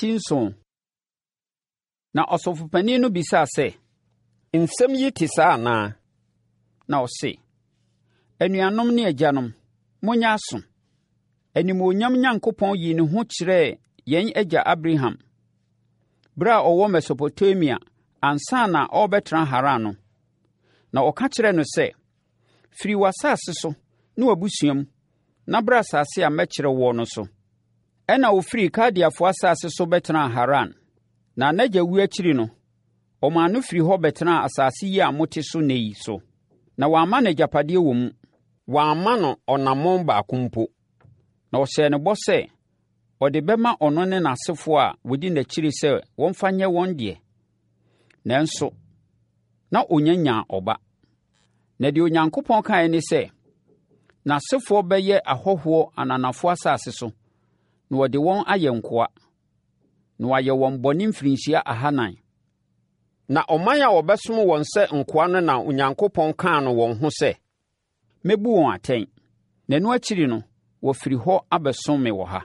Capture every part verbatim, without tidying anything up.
Eti nson. Na ɔsɔfopanin no bisaa sɛ, “Nsɛm yi te saa anaa?” Na ɔse, “Anuanom ne agyanom, monyɛ aso! Animuonyam Onyankopɔn yii ne ho kyerɛɛ yɛn agya Abraham berɛ a ɔwɔ Mesopotamia ansa na ɔrebɛtena Haran no. Na ɔka kyerɛɛ no sɛ, ‘Firi w'asase so ne w'abusua mu, na bra asase a mɛkyerɛ wo no so.’ Ɛnna ɔfirii Kaldeafoɔ asase so bɛtenaa Haran. Na n'agya wuo akyiri no, ɔmaa no firii hɔ bɛtenaa asase yi a mote so ɛnnɛ yi so. Na wamma no agyapadeɛ wɔ mu. Wamma no ɔnamɔn baako mpo. Na ɔhyɛɛ no bɔ sɛ ɔde bɛma ɔno ne n'asefoɔ a wɔdi n'akyiri sɛ wɔmfa nyɛ wɔn deɛ. Nanso, na ɔnnya nyaa ɔba. Na deɛ Onyankopɔn kaeɛ ne sɛ, n'asefoɔ bɛyɛ ahɔhoɔ ananafoɔ asase so, na wɔde wɔn ayɛ nkoa, na wɔayɛ wɔn bɔne mfirinhyia ahanan. Na ɔman a wɔbɛsom wɔn sɛ nkoa no na Onyankopɔn kaa no wɔn ho sɛ, Mɛbu wɔn atɛn, na ɛno akyiri no, wɔafiri hɔ abɛsom me wɔ ha.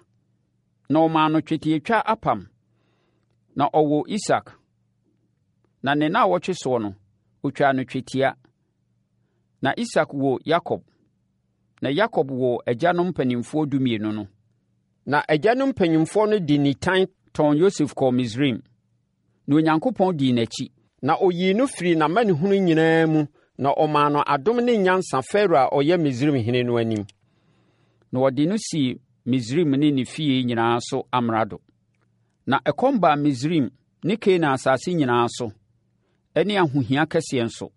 Na ɔmaa no twetiatwa apam, na ɔwoo Isak. Na ne nnawɔtwe soɔ no, ɔtwaa no twetia. Na Isak woo Yakob. Na Yakob woo agyanom mpanimfoɔ dumienu no. Na agyanom mpanimfoɔ no de nitan tɔn Yosef kɔɔ Misraim. Na Onyankopɔn dii n'akyi. Na ɔyii no firii n'amanehunu nyinaa mu na ɔmaa no adom ne nyansa Farao a ɔyɛ Misraimhene no anim. Na wɔde no sii Misraim ne ne fie nyinaa so amrado. Na ɛkɔm baa Misraim ne Kanaan asase nyinaa so, ne ahohia kɛseɛ nso.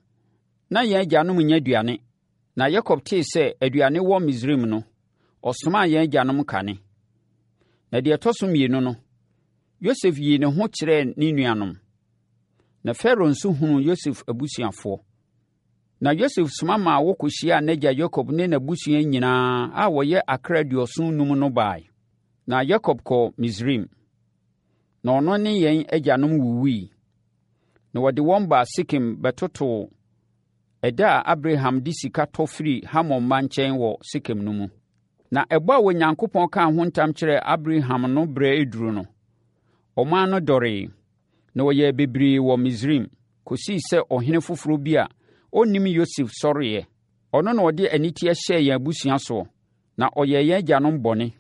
Na yɛn agyanom nnya aduane. Na Yakob tee sɛ aduane wɔ Misraim no, ɔsomaa yɛn agyanom kane. Na deɛ ɛtɔ so mmienu no, Yosef yii ne ho kyerɛɛ ne nuanom. Na Farao nso hunuu Yosef abusuafoɔ. Na Yosef soma maa wɔkɔhyiaa n'agya Yakob ne n'abusua nyinaa a wɔyɛ akra aduɔson num no baeɛ. Na Yakob kɔɔ Misraim. Na ɔno ne yɛn agyanom wuwui. Na wɔde wɔn baa Sekem bɛtotoo ɛda a Abraham de sika tɔ firii Hamor mma nkyɛn wɔ Sekem no mu. Na ɛbɔ a Onyankopɔn kaa ho ntam kyerɛɛ Abraham no berɛ reduru no, ɔman no dɔree, na wɔyɛɛ bebree wɔ Misraim, kɔsii sɛ ɔhene foforɔ bi a ɔnnim Yosef sɔreeɛ. Ɔno na ɔde aniteɛ hyɛɛ yɛn abusua soɔ, na ɔyɛɛ yɛn agyanom bɔne.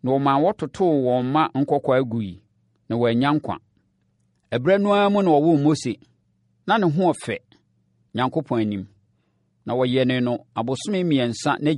Na ɔmaa wɔtotoo wɔn mma nkɔkoaa gui, na wɔannya nkwa. Ɛberɛ no ara mu na wɔwoo Mose. Na ne ho yɛ fɛ Nyankopɔn anim, na wɔyɛnee no abosome mmiɛnsa n'agya